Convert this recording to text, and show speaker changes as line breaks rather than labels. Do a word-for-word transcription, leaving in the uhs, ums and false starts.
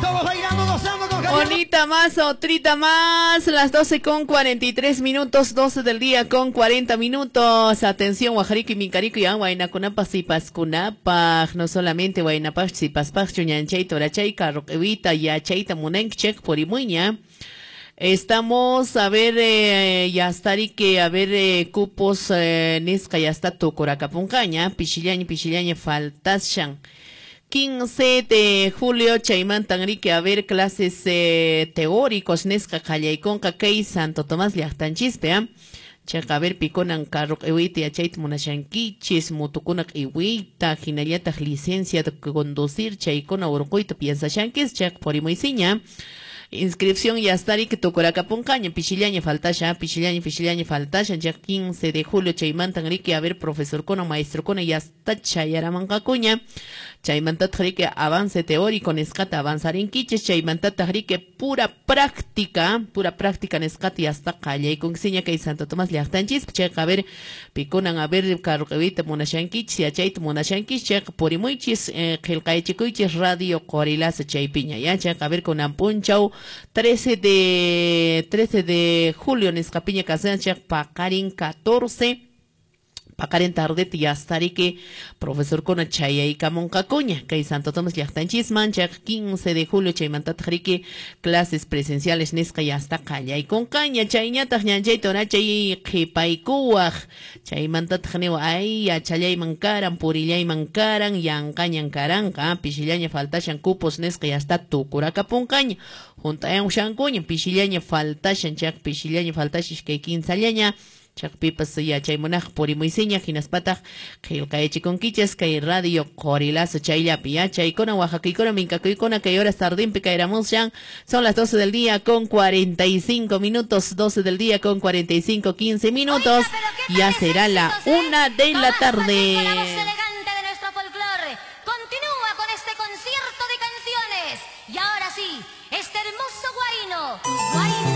Todos bailando, gozando con Javier.
Bonita más, otrita más. Las doce con cuarenta y tres minutos, doce del día con cuarenta minutos. Atención, Guajarico y Mincarico y Huaynakunapa, Sipaskunapa. No solamente Huaynapaj, Sipaspaj, Chuñanchay, Torachay, Carroquevita, Yachayta, Munenchek, Porimuña. Estamos, a ver, eh, ya está, que a ver, eh, cupos, eh, nisqa ya está tukurakapunqaña, pishillaña, pishillaña, faltashan. quince de julio, chaymantan riki, a ver, clases eh, teóricos, nisqa qallaykunqa kay Santo Tomás llaqtanchispi, ¿eh? Chaqa, a ver, pikunan carro q'iwiyta yachayta munashankichis, mutukuna q'iwiyta, hinallataq licencia de conducir, chaykuna urquyta piensashankis, chaqa purimuysiña. Inscripción ya está riki tukurakapunqaña, pishillaña faltasha, pishillaña, pishillaña faltasha, ya quince de julio chaymantan riki, a ver, profesor kuna, maestro kuna, ya está chayaramanqakuña. Chaymantataq riki avance teórico nisqata avanzarinkichis, chaymantataq riki pura práctica, pura práctica nisqata ya está qallaykunkiña kay Santo Tomás llaqtanchis, chayqa a ver, pikunan a ver carro q'iwiyta munashankichis, yachayta munashankichis, chayqa purimuychis, eh, qillqaychikuychis Radio Qorilaza chaypiña, ya, chayqa a ver kunan punchaw trece de trece de julio nisqapiña kasan chayqa paqarin catorce paqarin tardete ya estaré profesor kuna chayaykamunqakuña kay Santo Tomás llaqtanchisman chayqa quince de julio chaymantataq riki clases presenciales nisqa ya está qallaykunqaña chayñataq ñanchayta orachay qhipaykuwaq chaymantataq niwa ay yachallayman karan purillayman karan yanqañan karanqa pishillaña faltashan cupos nisqa ya está tukurakapunqaña juntayan ushankuña pishillaña faltashan chayqa pishillaña faltashan iskay kinsallaña chaqpipas yachaymunaq purimuysiña hinaspataq qillqayachikunkichis kay Radio Qorilazo chayllapi ya chaykuna oaxacaykuna minkakuykuna kay horas tardinpi kayramushan son las doce del día con cuarenta y cinco minutos, doce del día con cuarenta y cinco, quince minutos.
Oiga, pero ¿qué
Ya
tal
será la
éxitos, eh?
una de la
Tomás
tarde.
Martín con la voz elegante de nuestro folclore continúa con este concierto de canciones. Y ahora sí, este hermoso guaino. Guaino